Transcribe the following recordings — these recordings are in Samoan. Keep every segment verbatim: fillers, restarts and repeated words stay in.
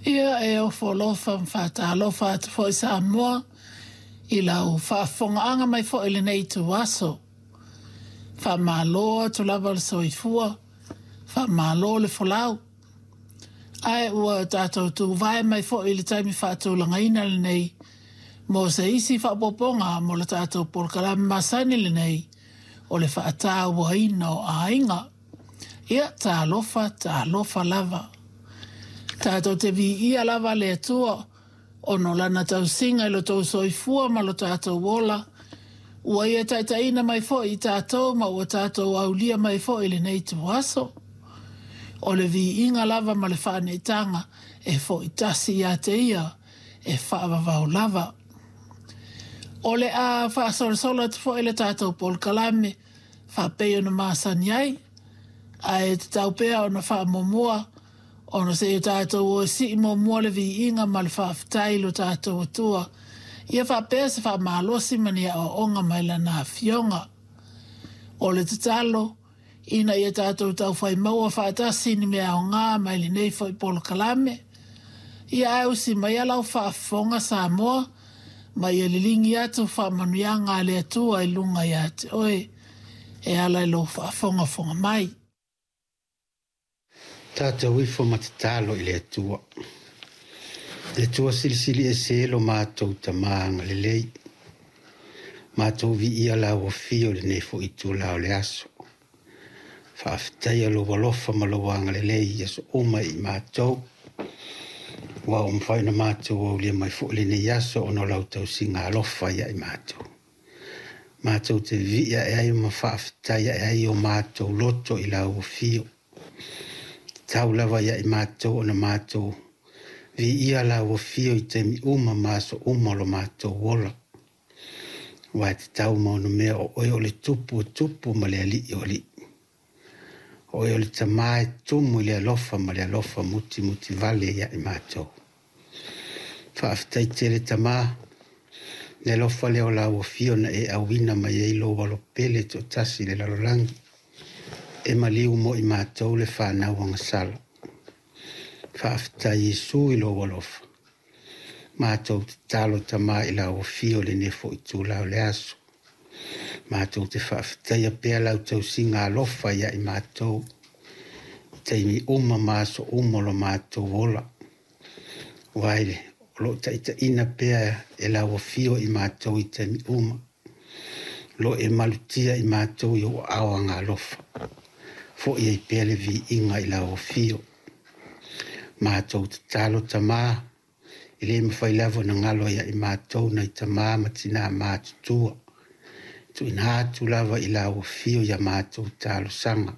Ia e ofo alofa ma faatalofa atu foi Samoa i lau faafofogaaga mai foi i lenei ituaso. Faamalo atu lava le soifua, faamalo le folau. Ae ua tatou tuvae mai foi i le taimi faatulagaina lenei mo se isi faaopoopoga mo le tatou polokalame masani lenei o le faatauaina o aiga. Ia talofa, talofa lava. Tatou te viia lava le Atua ona o lana tausiga i lo outou soifua ma lo tatou ola, ua ia taitaiina mai foi i tatou ma ua tatou aulia mai foi i lenei ituaso. O le viiga lava ma le faaneetaga e foi tasi ia te ia e faavavau lava. O le a faasolosolo atu foi le tatou polokalame faapei ona masani ai, ae tatau pea ona faamuamua ona se i o tatou o e sii muamua le viiga ma le faafetai i lo tatou Atua, ia faapea se faamalosi ma ni aoaoga mai lana Afioga. O le tatalo, ina ia tatou taufai maua faatasi ni mea aoga mai lenei foi polokalame. Ia ae usi maia lau faafofoga Samoa, ma ia liligi atu faamanuiaga a le Atua i luga ia te oe e ala i lou faafogafoga mai. Tatou ifo ma tatalo i le Atua. Le Atua silisili ese lo matou Tama agalelei. Matou viia lau afio i lenei foi itula o le aso. Faafetaia lou alofa ma lou agalelei i aso uma i matou. Ua ua mafai ona matou aulia mai foi lenei aso ona o lau tausiga alofa ia i matou. Matou te vivii ae ai ma faafetai ae ai o matou loto i lau afio. Tatau lava ia i matou ona matou viia lau afio i taimi uma ma aso uma o lo matou ola. Aua e tatau ma ono mea o oe o le tupu o tupu ma le alii o alii. O oe o le Tama e tumu i le alofa ma le alofa mutimutivale ia i matou. Faafetai tele Tama, le alofa lea o lau afio na e auina mai ai lou alo pele toatasi i le lalolagi, e maliu mo i matou le fanau agasala. Faafetai Iesu i lou alofa. Matou tatalo Tama i lau afio i lenei foi itula o le aso. Matou te faafetaia pea lau tausiga alofa ia i matou i taimi uma ma aso uma o lo matou ola. Aua o lo o taitaiina pea e lau afio i matou i taimi uma. O lo o e malutia i matou i ou aao agalofa. Foi ai pea le viiga i lau afio. Matou tatalo Tama, e le mafai lava ona galo ia i matou nai tama ma tina matutua. Tuuina atu lava i lau afio ia matou talosaga.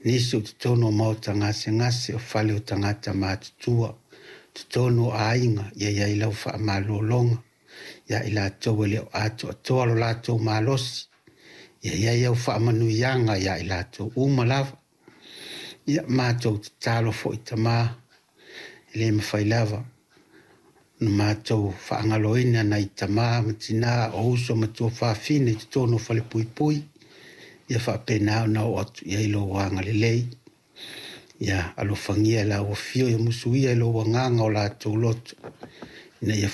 Nisi o totonu o maota gasegase o fale o tagata matutua, totonu o aiga, ia i ai lau faamalologa, ia i latou e le o atoatoa lo latou malosi, ia i ai au faamanuiaga ia i latou uma lava. Ia matou tatalo foi Tama, e le mafai lava na matou faagaloina nai tama ma tina o uso ma tuafafine i totonu o falepuipui, ia faapena ona oo atu i ai lou agalelei. Ia alofagia lau afio, ia musuia i lou agaga o latou loto, ina ia